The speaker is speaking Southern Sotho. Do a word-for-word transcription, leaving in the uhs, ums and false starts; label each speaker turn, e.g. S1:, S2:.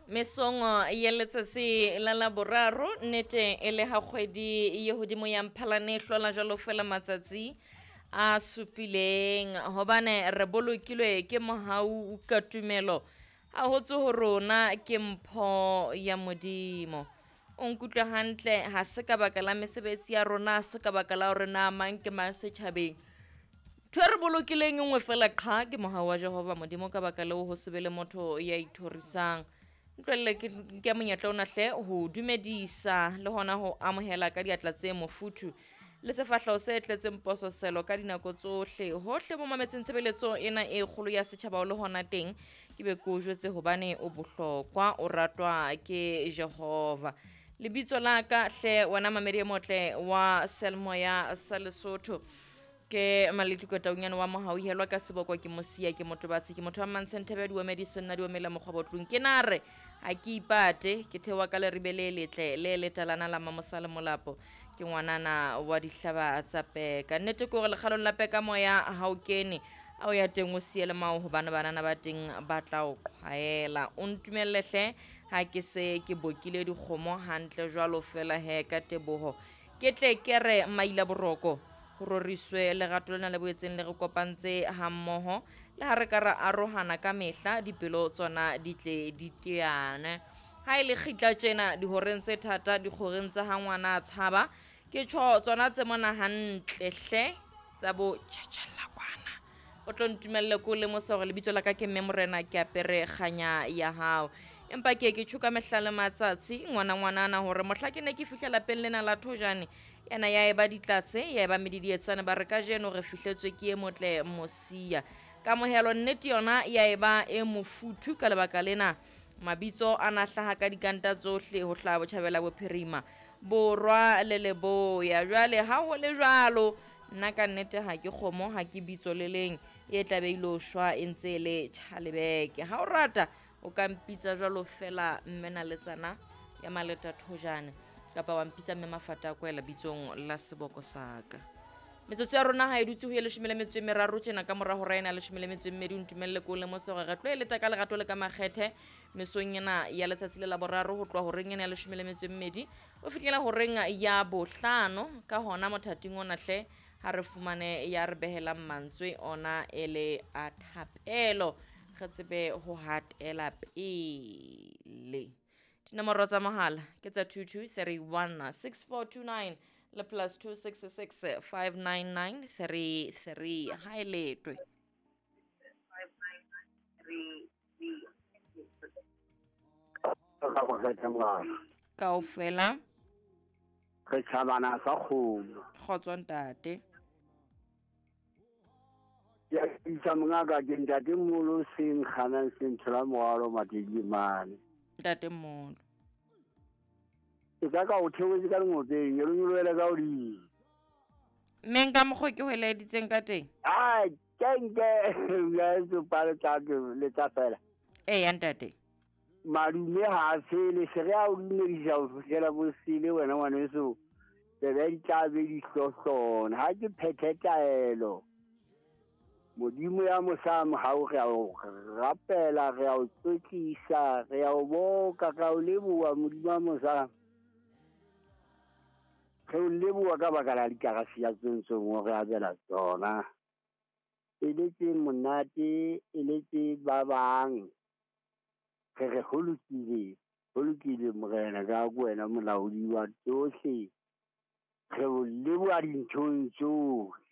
S1: Mesong ya letsatsi la Laboraro, nnete e le ha kgwedi ye hodimo ya Mphalane e hlola jwalo fela matsatsi a supileng, hobane re bolokilwe ke mohau ka tumelo. Ha ho tswe ho rona, ke mpho ya Modimo. O nkutlwe hantle, ha se ka baka la mesebetsi ya rona, ha se ka baka la hore na mang ke mang setjhabeng. Ntho e re bolokileng e nngwe fela qha ke mohau wa Jehova Modimo, ka baka leo ho se be le motho ya ithorisang. Ntlwelle ke nke monyetla ona hle ho dumedisa le hona ho amohela ka diatla tse mofuthu le sefahleho se tletseng pososelo ka dinako tsohle. Hohle mo mametseng tshebeletso ena e kgolo ya setjhaba o le hona teng, ke be ke o jwetse hobane o bohlokwa, o ratwa ke Jehova. Lebitso la ka hle wena mamedi e motle wa Seyalemoya sa Lesotho, ke Maletuko Taunyane wa Mohauhelwa ka seboko, ke Mosia, ke Motobatsi, ke motho wa Mantsheng Thebe, diomedi senna diomela mokgwa botlung. Ke nare ha ke ipate, ke theoha ka leribe le letle le letalana la Mamosa le Molapo, ke ngwanana wa dihlaba tsa peka. Nnete ke hore lekgalong la peka moya ha o kene, ha o ya teng o siele mao, hobane banana ba teng ba tla o qhwaela. O ntumelle hle ha ke se ke bokile dikgomo hantle jwalo fela he ka teboho. Ke tle ke re maila boroko, ho roriswe lerato lena le boetseng le re kopantse hammoho, le ha re ka ra arohana ka mehla, dipelo tsona di tle di teane. Ha e le kgitla tjena dihoreng tse thata, dikgoreng tsa ha ngwana a tshaba, ke tjho tsona tse mona hantle hle tsa bo tjhatjhella kwana. O tlo ntumelle ko lemosa hore lebitso la ka ke Mme Morena, ke apere kganya ya hao. Empa ke ke tjho ka mehla le matsatsi ngwana ngwanana hore mohla ke ne ke fihla lapeng lena la Thojane, yena ya eba ditlatse, ya eba medidietsane, ba re kajeno re fihletswe ke e motle Mosia. Kamohelo nnete yona ya eba e mofuthu ka lebaka lena. Mabitso a na hlaha ka dikanta tsohle ho hlaha botjhabela, bophirima, borwa le leboya. Jwale ha ho le jwalo, nna ka nnete ha ke kgomo, ha ke bitso le leng e tla be ilo shwa e ntse e le tjhalebeke. Ha o rata o ka mpitsa jwalo fela mme Naletsana ya Maleta Thojane, kapa wa mpitsa mme Mafata a Kwela bitsong la seboko sa ka. Metsotso ya rona ha e dutse ho ye leshome le metso e meraro tjena ka mora hora ena leshome le metso e mmedi. O ntumelle ko lemose hore re tlo e leta ka lerato le ka makgethe mesong ena ya letsatsi le la boraro, ho tloha horeng ena ya leshome le metso e mmedi ho fihlela horeng ya bohlano. Ka hona mothating ona hle ha re fumane ya re behelang mantswe ona e le a thapelo, re tsebe ho hatela pele. Dinomoro tsa mohala ke tsa two two three one six four two nine le plus two six six five nine nine three three. Ha e letwe. Kaofela
S2: re tjhabana sa kgomo.
S1: Kgotso ntate.
S2: Ke a isa mongaka, ke ntate Molo seng kganang seng thola morwalo Matedimane.
S1: Ntate Molo.
S2: Ke ka ka o theohetse ka lengopeng, e lo nyolohele ka hodimo.
S1: Mme nka mokgwa ke ho eleditseng ka teng?
S2: Ai, ke nke ya tsopa le tla le tla fela.
S1: Eya ntate.
S2: Madume ha a fele, se re a o dumedisa ho fihlela bosele wena ngwaneso. Tsebe di tla be di hlohlona. Ha ke phethe taelo. Modimo ya mosa mohau, re a o rapela, re a o tlotlisa, re a o boka, re a o leboha Modimo ya mosa. Re o leboha ka baka la dikarasi ya tsontsong o re abela tsona. E le tse monate, e le tse ba bang. Re re ho lokile, ho lokile Morena, ka ko wena molaodi wa tsohle. Re o leboha dinthong tsohle.